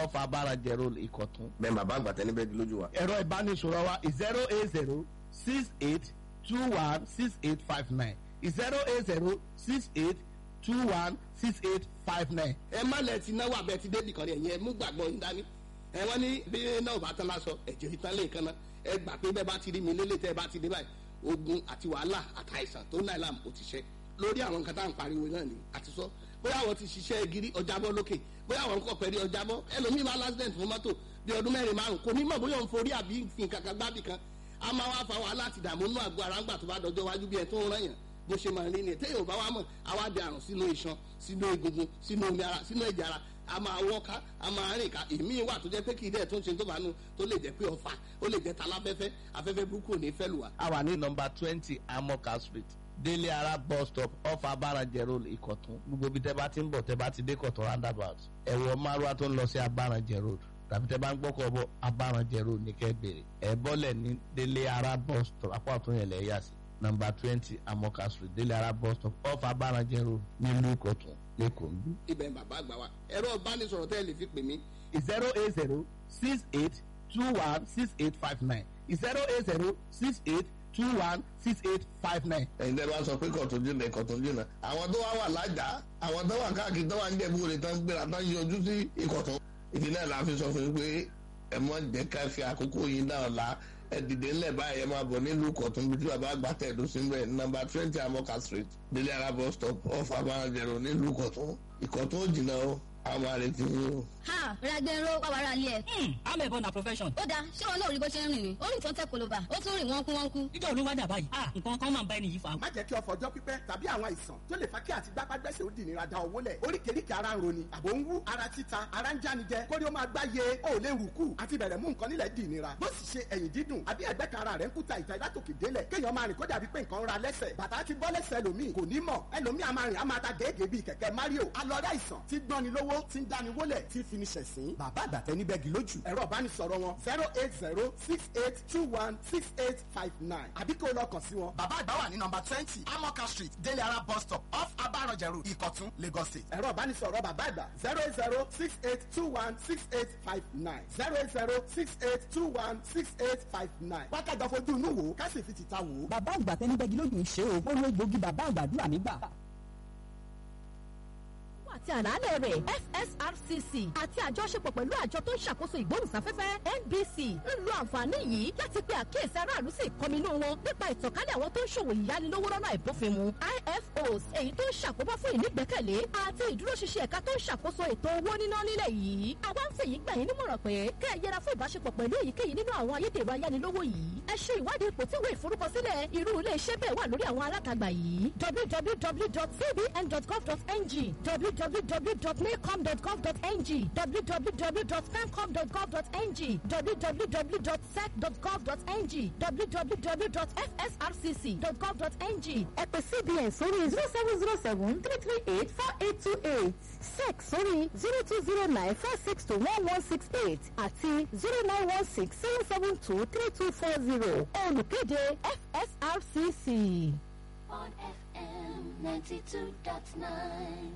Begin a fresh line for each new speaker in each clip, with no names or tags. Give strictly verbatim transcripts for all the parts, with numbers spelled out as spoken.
off Abarajẹ Road, Ìkọ̀tún.
Bẹ́ẹ̀ bàbá àgbà tẹ́ni bẹ́ẹ̀ di lójú wa.
Ẹ̀rọ ìbánisọ̀rọ̀ wa zero eight zero six eight two one six eight five nine zero eight zero six eight two one six eight five nine.
Ẹ má lẹ ti náwó abẹ ti débì kan rí. Ẹ̀yin ẹ mú gbàgbọ́ yín dání. Ẹ wọ́n ní bí náà bá tán lásọ ẹ̀jẹ̀ ìtàn lè kan náà. Ẹ gbà pé bẹ́ẹ̀ bá ti rí mi lélẹ̀, tẹ́ ẹ bá ti dé báyìí, ogun àti wàhálà àtàìsàn tó ń láì láàmú ó ti ṣe lórí àwọn nǹkan tá à ń pariwo náà ni àti sọ. Bóyá àwọn ti ṣiṣẹ́ gírí ọjàbọ́ lókè, bóyá àwọn nǹkan pẹ̀lú ọjàbọ́. Ẹlòmíì máa lásìdẹ̀ntì fún mọ́tò bí ọdún mẹ́rin márùn, kò ní mọ̀ bóyá òun forí àbí fi nǹkan kan gbábì kan. A máa wá fa wàhálà àti ìdààmú nínú àgọ́ ara ńgbà tó bá dọjọ́ wájú bí ẹ tó ń rán yàn bó ṣe máa rí ni. Téèyàn ò bá wá mọ̀, àwa di àrùn sínú iṣan, sínú egungun, sínú omi ara, sínú ẹ̀jẹ̀ ara. A máa wọ́ká, a máa rìn ká. Èmi wà tó jẹ́ pé kì í dẹ̀ tó ń ṣe tó bá nu, tó lè jẹ́ pé ọfà, ó lè jẹ́ taláfẹ́fẹ́. Afẹ́fẹ́ burúkú ò ní fẹ́ lù wá.
A wà ní nọ́mbà twenty Amoka Street, Délé Ara bus stop, off Abarajẹ Road, Ìkọ̀tún. Gbogbo ibi tẹ́ bá ti ń bọ̀, tẹ́ bá ti dé Kọ̀tún roundabout, ẹ wọ márúwá tó ń lọ sí Abarajẹ Road, tàbí tẹ́ bá ń gbọ́kọ̀ bọ̀, Abarajẹ Road ní kẹ́ bèrè. Ẹ bọ́lẹ̀ ní Délé Ara bus stop, apá ọ̀tún yẹn lẹ̀ yà sí. Nọ́mbà twenty Amoka Street, Délé Ara bus stop, off Abarajẹ Road, nílùú Ìkọ̀tún, lẹ́kọ̀ọ́ ń bí.
Ibẹ̀ ń bàbá àgbà wa. Ẹ̀rọ ìbánisọ̀rọ̀ tẹ́ ẹ lè fi pè mí:
zero eight zero six eight two one six eight five nine zero eight zero six eight two one six eight five nine.
Ẹ̀yin tẹ́ bá sọ pé Kọ̀tún jìnnà, Ìkọ̀tún jìnnà, àwọn tó wá wà lájà, àwọn tó wà káàkiri, tó wà ń jẹ̀bú rẹ̀, tó ń gbéra, tó ń yọjú sí Ìkọ̀tún. Ìdí náà la fi sọ fún yín pé ẹ mọ jẹ́ ká fi àkókò yín náà la. Ẹ dìde ńlẹ̀ báyìí, ẹ máa bọ̀ nílùú Ìkọ̀tún bí tí bàbá àgbà tẹ̀dó sí mbẹ̀, nọ́mbà twenty Amoka Street, Délé Ara bus stop, off Abarajẹ Road, nílùú Ìkọ̀tún. Ìkọ̀tún ò jìnnà o, àwọn àrètí yín o.
Ha, Ragbenro wàwàrà ilé ẹ.
Amẹ̀bọ na profession.
Ó dáa, ṣé wọn náà rí bó ṣe ń rìn ni? Ó rìn tán tẹ koloba, ó tún rìn wọ́n kú wọ́n kú.
Níjọ́ olúwa dà báyìí. Ah, nǹkan kan máa ń bá ẹni yìí fa.
Má jẹ́ kí ọ̀fọ̀ ọjọ́ pípẹ́ tàbí àwọn àìsàn tó lè fa kí àti gbápágbẹ́sẹ̀ ó di ìnira da owó lẹ̀. Oríkèéríkèé ara ń roni, àbò ń wú, ara títa, ara ń jánijẹ, kórí ó máa gbáyé, ó lè rù kù àti bẹ̀rẹ̀ mú nǹkan nílẹ̀ di ìnira. Bó sì ṣe ẹ̀yìn dídùn àbí ẹ̀gbẹ́ kan ara rẹ̀ ń kúta ìta látòkè délẹ̀, kéèyàn máa rìn kó dàbí pé nǹkan ń ra lẹ́sẹ̀, bàtà ti bọ́ lẹ́sẹ̀ ẹlòmíì kò ní mọ̀, ẹlòmíì a máa rìn, a máa ta gègé bíi kẹ̀kẹ́ Mario. Alọ́rẹ́ àìsàn ti gbọ́ni lówó, ti ń dáni wólẹ̀, ti fi ni ṣẹ̀sín. Bàbá àgbàtẹ́ níbẹ̀ gì lójú. Ẹ̀rọ ìbánisọ̀rọ̀ wọn zero eight zero six eight two one six eight five nine, àbí kó o lọ kàn sí wọn.
Bàbá àgbà wà ní nọ́mbà twenty Amoka Street, Délé Ara bus stop, off Abarajẹ Road, Ìkọ̀tún, Lagos State.
Ẹ̀rọ ìbánisọ̀rọ̀ bàbá àgbà zero eight zero six eight two one six eight five nine zero eight zero six eight two one six eight five nine. Wákàtí àfojú inú wò, ká sì fi tìta wò ó.
Bàbá àgbà tẹnibẹ́gi lójú ń ṣe o. Ó lo egbòogi bàbá àgbàdúrà nígbà.
Àti àlàálẹ̀ rẹ̀, F S R C C àti àjọṣepọ̀ pẹ̀lú àjọ tó ń ṣàkóso ìgbóhùnsáfẹ́fẹ́ N B C ń lo àǹfààní yìí láti pe àkíyèsí aráàlú sí ìkọminú wọn nípa ìtànkálẹ̀ àwọn tó ń ṣòwò ìyánilówó lọ́nà àìbófinmu, I F Os, èyí tó ń ṣàkóbá fún ìnígbẹ́kẹ̀lé àti ìdúróṣinṣin ẹ̀ka tó ń ṣàkóso ètò owó níná nílẹ̀ yìí. Àwa ń fèyí gbà yín nímọ̀ràn pé kẹ́ ẹ yẹra fún ìbáṣepọ̀ pẹ̀lú èyíkéyìí nínú àwọn ayédèrú ayánilówó yìí. Ẹ ṣe ìwádìí ipò tí ìwé ìforúkọsílẹ̀ irú ilé iṣẹ́ bẹ́ẹ̀ wà lórí àwọn alátagbà yìí: w w w dot c b n dot gov dot n g, w w w dot nacom dot gov dot n g, w w w dot pencom dot gov dot n g, w w w dot sec dot gov dot n g, w w w dot f s r c c dot gov dot n g.
Ẹ pè C B N sórí zero seven zero seven three three eight four eight two eight, sec sórí zero two zero nine four six two one one six eight àti zero nine one six seven seven two three two four zero. Olùkéde, F S R C C.
On F M ninety-two point nine.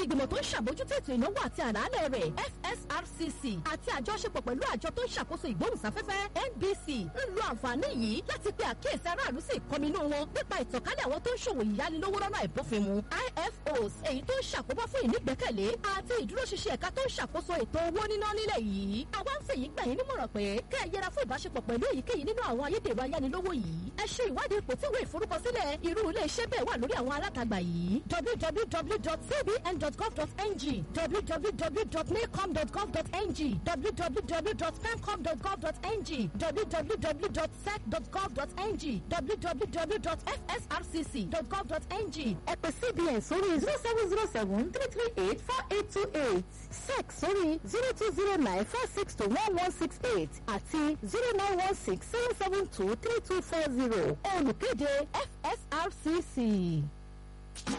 Ìgbìmọ̀ tó ń ṣàbójútó ètò ìnáwó àti àlàálẹ̀ rẹ̀, F S R C C, àti àjọṣepọ̀ pẹ̀lú àjọ tó ń ṣàkóso ìgbóhùnsáfẹ́fẹ́ N B C ń lo àǹfààní yìí láti pe àkíyèsí aráàlú sí ìkọminú wọn nípa ìtànkálẹ̀ àwọn tó ń ṣòwò ìyánilówó lọ́nà àìbófinmu, I F Os, èyí tó ń ṣàkóbá fún ìnígbẹ́kẹ̀lé àti ìdúróṣinṣin ẹ̀ka tó ń ṣàkóso ètò owó níná nílẹ̀ yìí. Àwa ń fèyí gbà yín nímọ̀ràn pé kẹ́ ẹ yẹra fún ìbáṣepọ̀ pẹ̀lú èyíkéyìí nínú àwọn ayédèrú ayánilówó yìí. Ẹ ṣe ìwádìí ipò tí ìwé ìforúkọsílẹ̀ irú ilé iṣẹ́ bẹ́ẹ̀ wà lórí àwọn alátagbà yìí: w w w dot c b n dot gov dot n g, w w w dot nacom dot gov dot n g, w w w dot pencom dot gov dot n g, w w w dot sec dot gov dot n g, w w w dot f s r c c dot gov dot n g.
Ẹ pè C B N sórí zero seven zero seven three three eight four eight two eight, sec sórí zero two zero nine four six two one one six eight àti zero nine one six seven seven two three two four zero. Olùkéde, F S R C C.